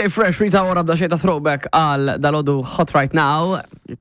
DJ Fresh Rita Ora bda xejta throwback għal dalodu Hot Right Now.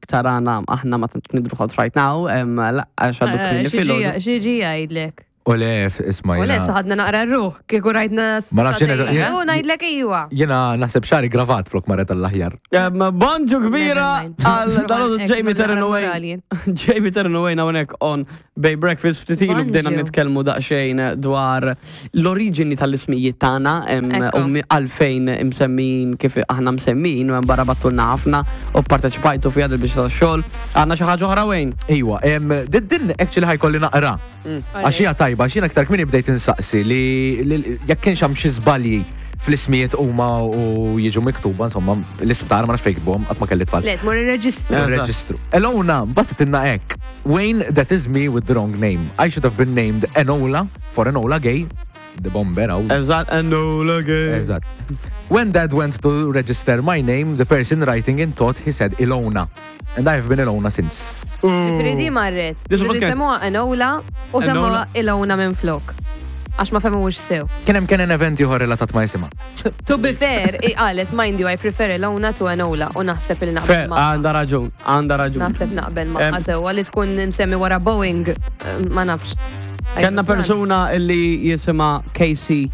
Tarana aħna ma tantx nidru Hot Right Now, għax għadu Eh, kmini filgħodu. Xieġi jgħidlek. U le, isma' U le, jiena- saħadna naqra r-ruħ, kieku rajtna Ma nafx jiena- s-satej. U ngħidlek iwa. Jiena naħseb xari gravat flok marret tal-aħjar. Bonġu kbira Never mind. għal dalodu Ek, Jamie naqra Terranaway. morali. Jamie Terranaway hawnhekk on Bay Breakfast ftit ilu bdejna Bonġu. nitkellmu daqsxejn dwar l-oriġini tal-ismijiet tagħna em, Ekku. u mi- għalfejn imsemmin kif aħna msemmin u hemm barra battulna ħafna u parteċipajtu fi biex tax-xogħol. Għandna xi ħaġa oħra wejn. Iwa, em, din din actually ħajkolli naqra. Għax hija tajba, għax jiena aktar kmieni bdejt insaqsi li li- jekk kienx hemm xi żbalji fl-ismijiet huma u jiġu miktuba, insomma, l-isptar ma nafx fejn jikbuhom, qatt ma kelli tfal. Le, tmur ir-reġistru. Eżatt. Reġistru. Elona, battitilna hekk. Wayne, that is me with the wrong name. I should have been named Enola for Enola Gay. The bomber, għaw. Eżatt, Enola Gay. Eżatt. When dad went to register my name, the person writing in thought he said Ilona. And I have been Ilona since. Ġifieri di marret. Di suppost Ġifieri kienet- semmuha Enola u Enola. semmuha Ilona minn flok. Għax ma fehmuhux sew. Kien hemm kien event ieħor relatat ma' jisimha. To be fair, i qalet, mind you, I prefer Ilona to Enola u naħseb il naqbel Fair, ma' għandha raġun, għandha raġun. Naħseb naqbel ma' Em. sewwa li tkun msemmi wara Boeing, eh, ma nafx. Kenna persuna illi jisima Casey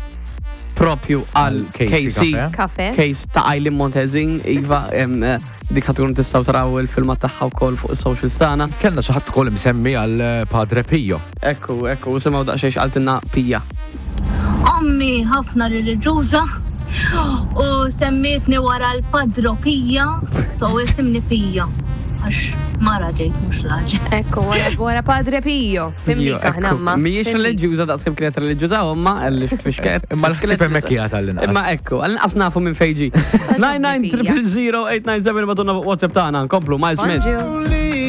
propju għal Casey Casey. Cafe. Kafe. Case ta' Eileen Montezin, Iva, em, eh, dik ħatkun tistaw taraw il-filmat tagħha wkoll fuq is-socials tagħna. Kellna xi ħadd ukoll imsemmi għal eh, Padre Pio. Ekku, ekku, simgħu daqsxejn x'qaltilna Pija. Ommi ħafna reliġjuża u semmietni wara l-padro Pija, so isimni Pija. Għax mara ġejt mhux raġel. Ekku, wara- wara Padre Pio. Pio, Fimlik aħna ekku. ma. Mhijiex Fimlik. reliġjuża daqskemm kienet reliġjuża omma, għalli fixket. Imma l-ħsieb hemmhekk qiegħed għall-inqas. Imma ekku, għall-inqas nafu minn fejġi. 9900897 batunna fuq WhatsApp tagħna, nkomplu Miles Smith. Bonġu.